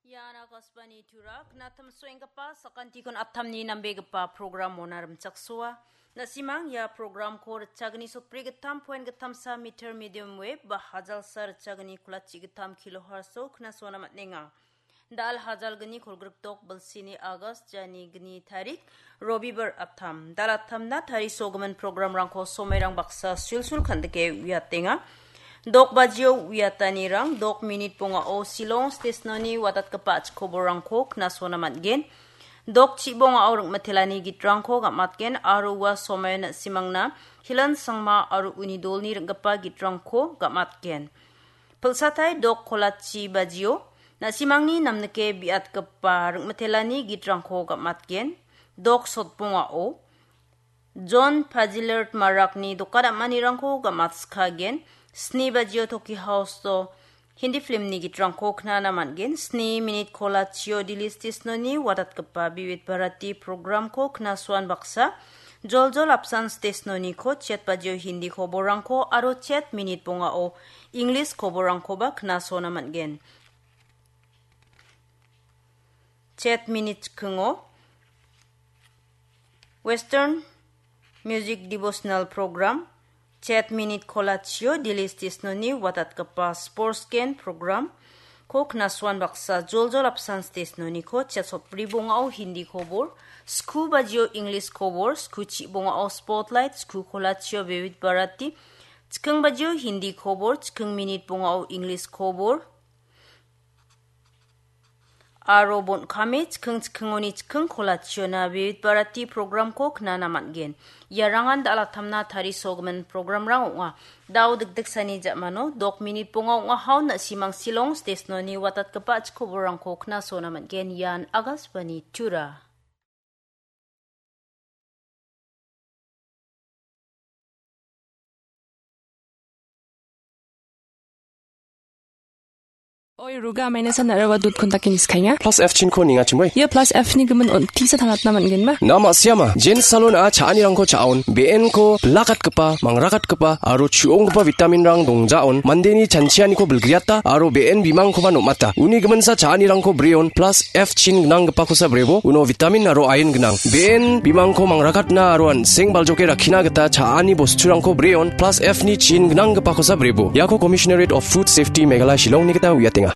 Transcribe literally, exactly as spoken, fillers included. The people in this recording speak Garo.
Ian Akashvani Tura, knatam soenggipa sakantikon aptamni nambegipa program mona rimchaksoa. Nasimang ia programko ritchagni sotbri gittam poen gittamsa meter medium wave ba hajalsa ritchagni kulachi gittam kilohertz-o knasona man·enga. Dal hajalgni kolgrikdok bilsini August jani gni tarik Robibar aptam. Dal aptamna tarisogimin programrangko somairang baksa sulsul kandike uiatenga. Dok bajio uiatanirang dok minit bongao Shillong stesnoni watatgipa chikoborangko knasona man·gen. Dok chibongao ringmitelani gitrangko gamatgen aro ua somaio na·simangna Hilan Sangma aro uni dolni ringgipa gitrangko gamatgen. Pilsatai dok kolachi bajio, na·simangni namnike biatgipa ringmitelani gitrangko gamatgen. Dok sotbongao, John Pazilert Marakni doka dam·anirangko gamatskagen. Sni bajio Toki House-o Hindi filmni gitrangko knana man·gen. Sni minit kolachio Delhi stesnoni watatgipa Vividh Bharati programko knasoan baksa, joljol apsan stesnoniko chet bajio Hindi koborrangko aro chet minit bongao English koborrangkoba knasona man·gen. Chet minit chikingo Western Music Devotional Program, chet minit kolachio Delhi stesnoni watatgipa Sports Gen Program ko knasuan baksa joljol apsan stesnoniko chet sotbri bongao Hindi kobor, sku bajio English kobor, sku chi bongao Spotlight, sku kolachio Vividh Bharati, chiking bajio Hindi kobor, chiking minit bongao English kobor, aro bon·kame chiking chikingoni chiking kolachiona Vividh Bharati programko knana man·gen. Iarangan dal·atamna tarisogimin programrang ong·a. Dao dikdiksani ja·mano dok minit bonga ong·a haon na·simang Shillong stesnoni watatgipa chikoborrangko knasona man·gen. Ian Akashvani Tura. Oi, Ruga, maina san nara wadut kontakin iskainga. Plus F chinko ninga chimoi. Ia plus F ni gimin on tisa tangatna man gen ma? Na ma siama, Jen Salon a cha·anirangko cha·on, be·enko bilakatgipa, mangrakatgipa, aro chu·onggipa vitamin rang dongjaon, mandeni chanchianiko bilgriata, aro be·en bimangkoba nom·ata. Uni giminsa cha·anirangko breon, plus F chin gnanggipakosa brebo, uno vitamin aro iron gnang. Be·en bimangko mangrakatna aro an·seng baljoke rakkina gita cha·ani bosturangko breon, plus F ni chin gnanggipakosa brebo. Iako Commissionerate of Food Safety Meghalaya Shillongni gita uiatenga.